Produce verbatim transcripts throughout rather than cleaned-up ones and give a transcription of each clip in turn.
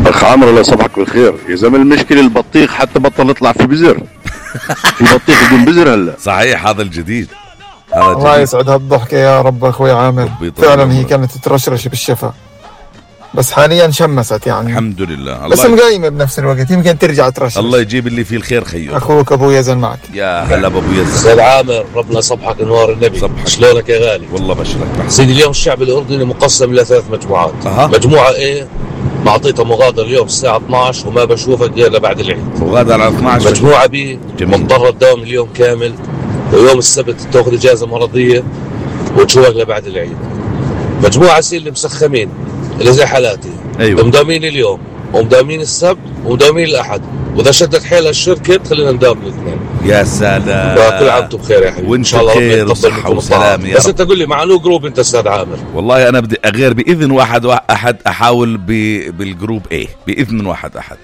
أخ عامر الله يصبحك بالخير. يا زلمة المشكلة البطيخ حتى بطل يطلع في بزر. في بطيخ بدون بزر هلا. صحيح هذا الجديد. هذا الله جديد. يسعد هالضحكة يا رب أخوي عامر. فعلا هي كانت ترشرش بالشفا بس حاليا شمست يعني الحمد لله. بس مقايمة بنفس الوقت يمكن ترجع ترشرش. الله يجيب اللي فيه الخير خيو. أخوك أبو يزن معك. يا هلا أبو يزن. أستاذ عامر ربنا صبحك انوار النبي. صبحك. شلونك يا غالي؟ والله بشرك سيدي اليوم الشعب الأردني مقسم إلى ثلاث مجموعات. أه. مجموعة إيه معطيتها مغادرة اليوم الساعة اثنعش وما بشوفك إلا بعد العيد. مغادرة على اثنعش. مجموعة بي مضطرة تداوم اليوم كامل ويوم السبت تأخذ إجازة مرضية وتشوفك لبعد العيد. مجموعة سي اللي مسخمين اللي زي حالاتي. أيوة. مداومين اليوم ومداومين السبت ومداومين الأحد وإذا شدت حيلها الشركة خلينا نداوم الاثنين. يا سلام. كل عام وانتم بخير يا حبيبي. وإن شاء الله ربنا يتقبل وسلام يا بس رب. أنت قل لي مع انو جروب أنت أستاذ عامر؟ والله أنا بدي أغير بإذن واحد أحد أحاول ب... بالجروب إيه بإذن واحد أحد.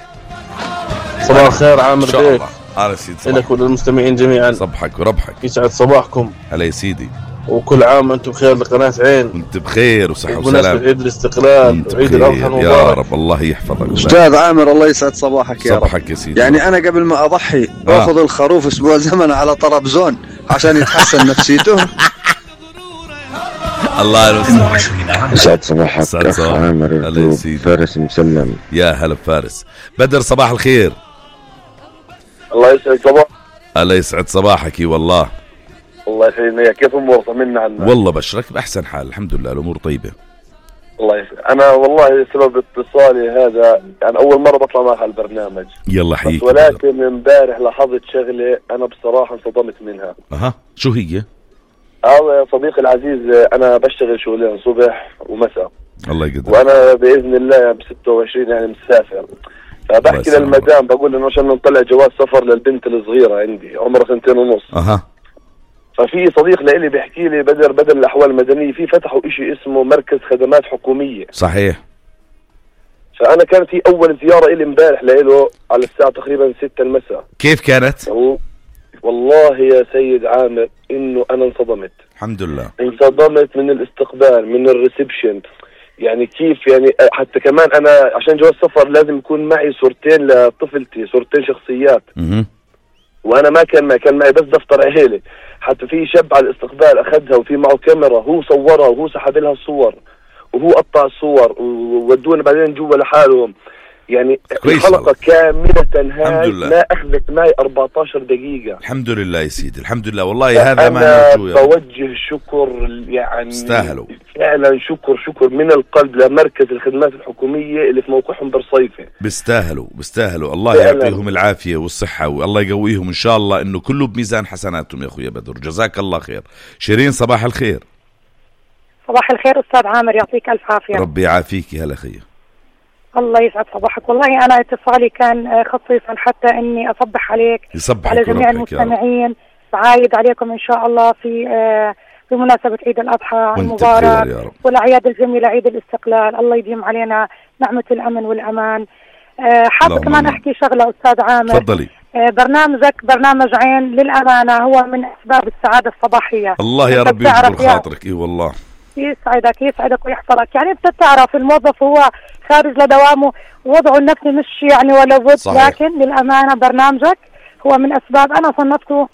صباح الخير عامر إن شاء بيك. الله. على سيدي. لك وللمستمعين جميعا. صبحك وربحك. يسعد صباحكم. هلا يا سيدي. وكل عام وانتم بخير لقناة عين. وانت بخير وصحة وسلام. بمناسبة عيد الاستقلال وعيد الأضحى المبارك. يا رب الله يحفظك. أستاذ عامر الله يسعد صباحك يا رب. صباحك يا سيدي. يعني أنا قبل ما أضحي أخذ آه. الخروف أسبوع زمن على طرابزون عشان يتحسن نفسيته. الله يسعد صباحك أخ عامر. فارس مسلم. يا هلا فارس. بدر صباح الخير. الله يسعد صباحك. الله يسعد صباحك والله. الله يسعدنا. كيف امور؟ طمنا عنا. والله بشرك باحسن حال الحمد لله الامور طيبه. الله يسعد. انا والله سبب اتصالي هذا يعني اول مره بطلع معك على البرنامج. يلا حييك. ولكن امبارح لاحظت شغله انا بصراحه انصدمت منها. اها شو هي؟ اه يا صديقي العزيز انا بشتغل شغلين صبح ومساء. الله يقدر. وانا باذن الله ب ستة وعشرين يعني مسافر. فبحكي للمدام بقول انه عشان نطلع جواز سفر للبنت الصغيره عندي عمرها سنتين ونص. اها ففي صديق لإلي بيحكي لي بدر بدل الأحوال المدنية في فتحوا إشي اسمه مركز خدمات حكومية. صحيح. فأنا كانت هي أول زيارة إلي امبارح لإله على الساعة تقريبا ستة المساء. كيف كانت؟ والله يا سيد عامر إنه أنا انصدمت. الحمد لله. انصدمت من الاستقبال من الريسبشن يعني كيف يعني حتى كمان أنا عشان جواز سفر لازم يكون معي صورتين لطفلتي صورتين شخصيات. اها وانا ما كان ما كان معي بس دفتر عيلة. حتى في شاب على الاستقبال اخذها وفي معه كاميرا هو صورها وهو سحب لها الصور وهو قطع الصور وودونا بعدين جوا لحالهم يعني الحلقة كاملة هاي ما اخذت معي أربعة عشر دقيقة. الحمد لله يا سيدي الحمد لله والله هذا ما نرجو. انا بوجه شكر يعني استاهلوا فعلا شكر شكر من القلب لمركز الخدمات الحكومية اللي في موقعهم برصيفة. بيستاهلوا بيستاهلوا الله يعطيهم العافية والصحة والله يقويهم ان شاء الله انه كله بميزان حسناتهم يا اخويا بدر. جزاك الله خير. شيرين صباح الخير. صباح الخير أستاذ عامر يعطيك ألف عافية. ربي يعافيك. هلا خير. الله يسعد صباحك. والله أنا اتصالي كان خصيصا حتى إني أصبح عليك على جميع المستمعين بعايد عليكم إن شاء الله في في مناسبة عيد الأضحى المبارك والأعياد الجميلة عيد الاستقلال. الله يديم علينا نعمة الأمن والأمان. حابة كمان أحكي شغلة أستاذ عامر. تفضلي. برنامجك برنامج عين للأمانة هو من أسباب السعادة الصباحية. الله يا رب يجبر خاطرك. إيه والله يسعدك يسعدك ويحفظك. يعني انت تعرف الموظف هو خارج لدوامه ووضعه النفسي مش يعني ولا بد. لكن للأمانة برنامجك هو من أسباب أنا صنفته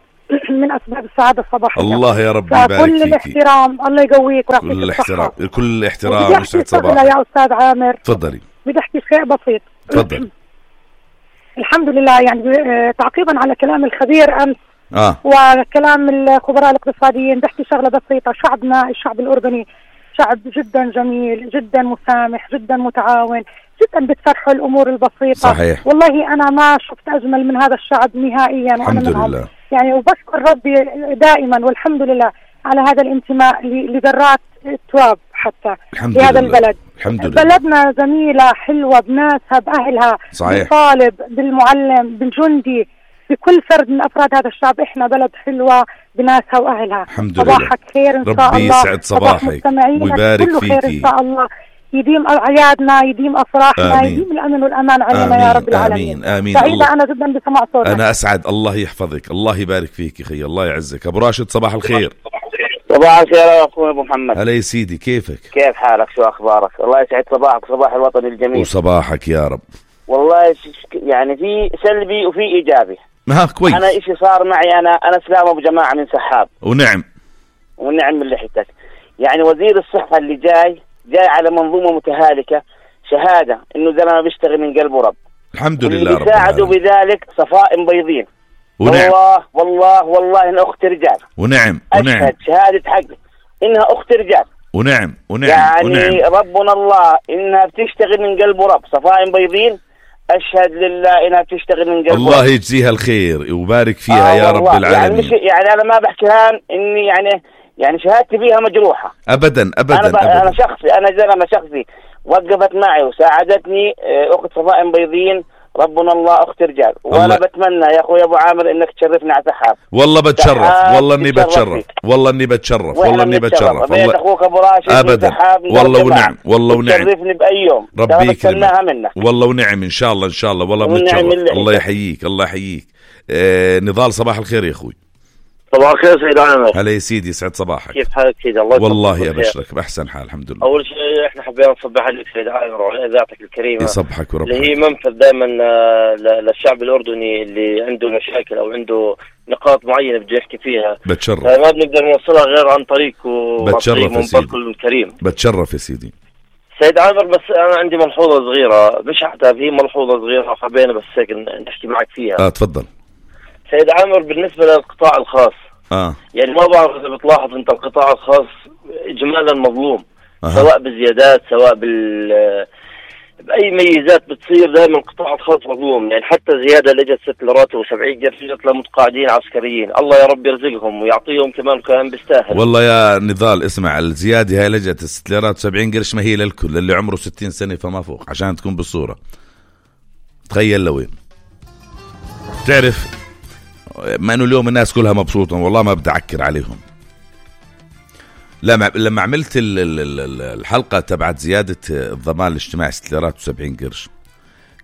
من أسباب السعادة الصباحية. الله يا رب يبارك فيك. كل الاحترام الله يقويك ويعطيك كل الاحترام كل الاحترام ويسعد صباحك. يا أستاذ عامر تفضلي. بدي أحكي شيء بسيط. تفضل. الحمد لله يعني تعقيبا على كلام الخبير أمس آه. وكلام الخبراء الاقتصاديين بحكي شغلة بسيطة. شعبنا الشعب الأردني شعب جدا جميل جدا مسامح جدا متعاون جدا بتفرحوا الأمور البسيطة. صحيح. والله أنا ما شفت أجمل من هذا الشعب نهائيا. الحمد لله يعني وبشكر ربي دائما والحمد لله على هذا الانتماء لذرات التراب حتى في هذا البلد. الحمد لله. بلدنا جميلة حلوة بناسها بأهلها. صحيح. بالطالب بالمعلم بالجندي بكل فرد من أفراد هذا الشعب. إحنا بلد حلوة بناسها وأهلها. الحمد لله. صباحك خير إن شاء الله. ربي يسعد صباحك ويبارك كله فيكي. خير إن شاء الله. يديم أعيادنا يديم أفراحنا. آمين. يديم الأمن والأمان علينا يا رب العالمين. آمين آمين. سعيدة أنا جدا بسمع صوتك. أنا أسعد. الله يحفظك الله يبارك فيك خي الله يعزك. أبو راشد صباح الخير. صباح الخير يا اخوي ابو محمد. هلا يا سيدي، كيفك؟ كيف حالك؟ شو اخبارك؟ الله يسعد صباحك وصباح الوطن الجميل. وصباحك يا رب. والله يعني في سلبي وفي ايجابي. ها كويس. انا اشي صار معي، انا انا اسلام ابو جماعه من سحاب. ونعم ونعم من لحيتك. يعني وزير الصحه اللي جاي جاي على منظومه متهالكه، شهاده انه زلمه بيشتغل من قلبه رب. الحمد لله رب يساعدوا بذلك صفائم بيضين. ونعم. والله والله والله انها اخت رجال. ونعم ونعم. اشهد شهاده حق انها اخت رجال. ونعم ونعم يعني ونعم. ربنا الله انها بتشتغل من قلب رب، صفائم بيضين. اشهد لله انها بتشتغل من قلب الله رب. يجزيها الخير ويبارك فيها آه يا رب العالمين. يعني مش يعني انا ما بحكيها اني يعني يعني شهادتي فيها مجروحه ابدا ابدا انا, أبداً. أنا شخصي انا زلمه شخصي وقفت معي وساعدتني اخت صفائم بيضين. ربنا الله اخت رجال. وانا بتمنى يا اخوي ابو عامر انك تشرفنا على سحاب. والله بتشرف، والله اني بتشرف، والله اني بتشرف، والله اني بتشرف. والله اخوك ابو راشد ابدا. والله ونعم، والله ونعم. تشرفني باي يوم. ربي يكرمك. والله ونعم ان شاء الله ان شاء الله. والله بنتشرف. الله يحييك الله يحييك. آه نضال صباح الخير يا اخوي. صباح الخير سيد عامر. هلا يا سيدي، يسعد صباحك. كيف حالك سيدي؟ الله والله ابشرك باحسن حال الحمد لله. اول شيء احنا حبينا نصبح عليك سيد عامر وعلى اذاعتك الكريمه. يصبحك وربك. اللي هي منفذ دائما للشعب الاردني اللي عنده مشاكل او عنده نقاط معينه بده يحكي فيها. بتشرف. ما بنقدر نوصلها غير عن طريق بتشرف يا سيدي الكريم. بتشرف يا سيدي. سيد عامر بس انا عندي ملحوظه صغيره، مش حتى هي ملحوظه صغيره حبينا بس هيك نحكي معك فيها. اه تفضل. سيد عامر بالنسبه للقطاع الخاص اه يعني ما بعرف اذا بتلاحظ انت القطاع الخاص اجمالا مظلوم. أه. سواء بالزيادات سواء بال باي ميزات بتصير دائما القطاع الخاص مظلوم. يعني حتى زياده اللي اجت ست ليرات وسبعين قرش جت لمتقاعدين عسكريين، الله يا رب يرزقهم ويعطيهم كمان كان بيستاهل. والله يا نضال اسمع، الزياده هاي اللي جت ست ليرات وسبعين قرش ما هي للكل، للي عمره ستين سنه فما فوق، عشان تكون بالصوره. تخيل لوين. تعرف ما انه اليوم الناس كلها مبسوطه، والله ما بدي اعكر عليهم. لما لما عملت الحلقه تبعت زياده الضمان الاجتماعي ست ليرات وسبعين قرش،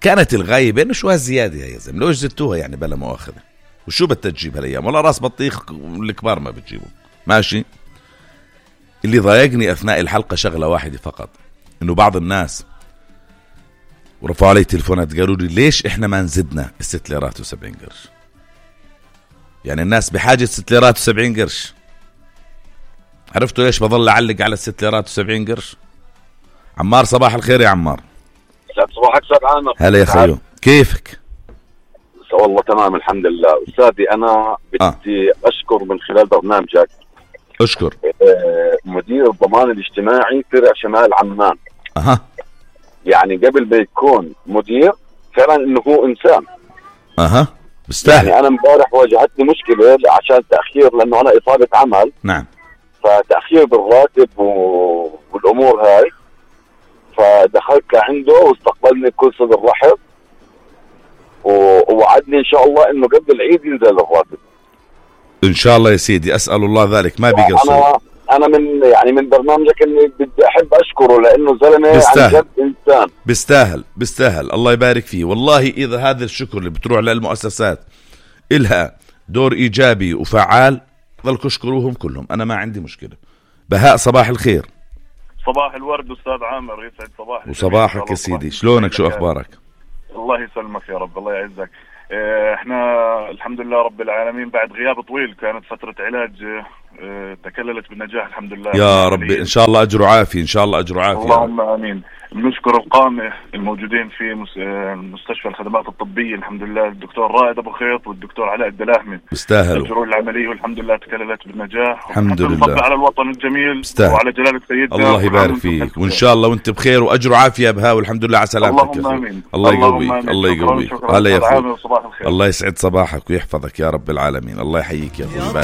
كانت الغايه بانه شو هالزياده يا زلمه، لو زدتوها يعني بلا مؤاخذه وشو بدك تجيب هالايام؟ والله راس بطيخ الكبار ما بتجيبه ماشي. اللي ضايقني اثناء الحلقه شغله واحده فقط، انه بعض الناس ورفعوا علي تليفونات قالوا لي ليش احنا ما نزدنا الست ليرات وسبعين قرش؟ يعني الناس بحاجة ست ليرات وسبعين قرش. عرفتوا ليش بظل أعلق على الست ليرات وسبعين قرش؟ عمار صباح الخير يا عمار. صباحك سعد عامر. هلا يا خيو، كيفك؟ والله تمام الحمد لله. أستاذي أنا بدي آه. أشكر من خلال برنامجك. أشكر. مدير الضمان الاجتماعي فرع شمال عمان. أها. يعني قبل ما يكون مدير فعلا إنه هو إنسان. أها. بستاهل. يعني أنا امبارح واجهتني مشكلة عشان تأخير، لأنه أنا إصابة عمل. نعم. فتأخير بالراتب و... والأمور هاي، فدخلت لعنده واستقبلني بكل صدر رحب و... ووعدني إن شاء الله إنه قبل العيد ينزل الراتب. إن شاء الله يا سيدي، أسأل الله ذلك ما بيقصر. أنا أنا من يعني من برنامجك إني بدي أحب أشكره لأنه زلمة عن جد إنسان. بيستاهل بيستاهل الله يبارك فيه. والله إذا هذا الشكر اللي بتروح للمؤسسات إلها دور إيجابي وفعال ظلكوا اشكروهم كلهم، أنا ما عندي مشكلة. بهاء صباح الخير. صباح الورد أستاذ عامر، يسعد صباحك. وصباحك يا سيدي، شلونك شو أخبارك؟ الله يسلمك يا رب، الله يعزك. احنا الحمد لله رب العالمين بعد غياب طويل، كانت فترة علاج تكللت بالنجاح الحمد لله يا رب. ان شاء الله اجر عافية، ان شاء الله اجر عافية. اللهم امين. بنشكر القامة الموجودين في مستشفى الخدمات الطبية الحمد لله، الدكتور رائد ابو خيط والدكتور علاء الدلاهمي بيستاهلوا اجروا العملية والحمد لله تكللت بالنجاح. الحمد لله على الوطن الجميل بيستاهل. وعلى جلالة سيدنا الله يبارك فيك، وان شاء الله وانت بخير واجر عافية بها، والحمد لله على سلامتك. اللهم امين. الله يقويك الله يقويك. هلا يا اخوي، الله يسعد صباحك ويحفظك يا رب العالمين. الله يحييك يا اخوي.